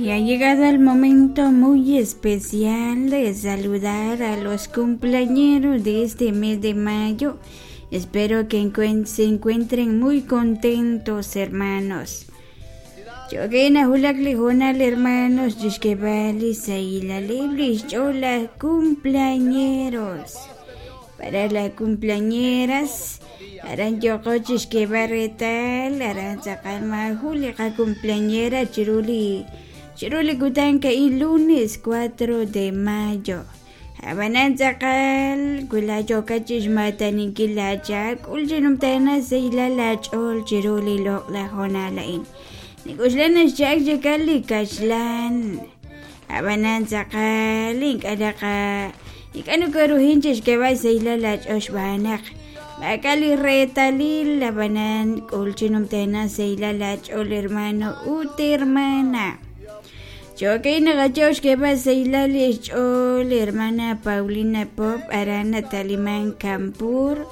Y ha llegado el momento muy especial de saludar a los cumpleañeros de este mes de mayo. Espero que se encuentren muy contentos, hermanos. Chokena hulak li hoonal hermanos chixk'eb'al li sahilaleb' li xch'ool laj cumpleañeros. Para las cumpleañeras, aran yooqo chixk'eb'al reetal aran tz'aqal maajun li qacumpleañera chiru li chiru li kutan ka'in lunes 4 de mayo. Ab'anan tz'aqal wi laa yookat chixmaataninkil laachaak k'ul chi numtajenaq sahilal laach'ool chiru li loq'laj hoonal a'in. Nik'oxla naxcha'ak chikal li kaxlan. Ab'anan tz'aqal ink'a' naqa ink'a' nokoruhin chixk'eeb'al xsahilal laach'ool xb'aan naq maak'a' li reetalil ab'anan k'ul chi numtajenaq sahilal laach'ool hermano ut hermana. Cho'okay naqayaw xk'eeb'al sahilal li xch'ool hermana Paulina Pop aran nataliman Campur.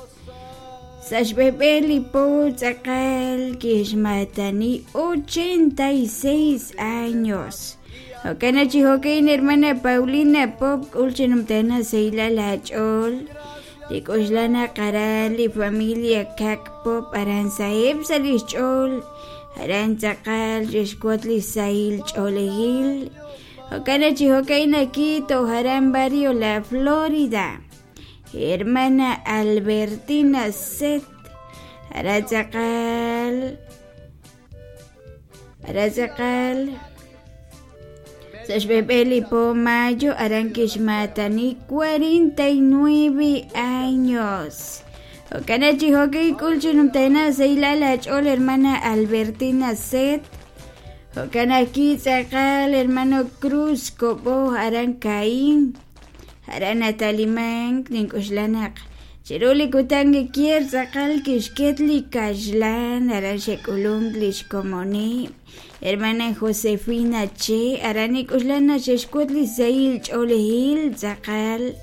Sa' xb'eb'e li po tz'aqal kixmaatani 86 años. Jo'kan chi jo'kan hermana Paulina Pop k'ul chi numtajenaq sahilal aach'ool. Li k'oxla naq aran li familia Kak Pop aran saheb' sa' li xch'ool aran tz'aqal xe'xwotz li sahil ch'oolejil. Jo'kan chi jo'kan aki toj aran barrio La Florida. Hermana Albertina Set aran tz'aqal aran tz'aqal sa' xb'eb'e li po mayo aran kixmaatani 49 años. Jo'kan chi jo'kan k'ul chi numtajenaq sahilal aach'ool hermana Albertina Set. Jo'kan aki tz'aqal hermano Cruz Kobo aran Caín. Aran natalimank nink'oxla naq chiru li kutan kier tz'aqal kixket li kaxlan aran xe'k'ulunk li xkomoneb'. Hermana Josefina Che aran nik'oxla naq xe'xwotz li sahil ch'oolejil tz'aqal.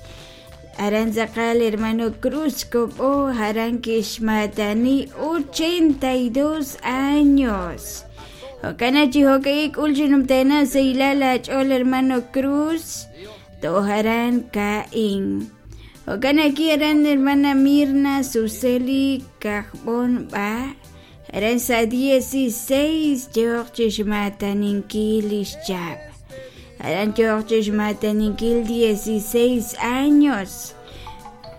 Aran tz'aqal hermano Cruz Kobo aran kixmaatani 82 años. Jo'kan chi jo'kan k'ul chi numtajenaq sahilal aach'ool hermano Cruz toj aran Caín. Jo'kan aki aran hermana Mirna Suseli Kajb'on B'a aran sa' 16 yooq chixmaataninkil li xchap. Aran yooq chixmaataninkil 16 años.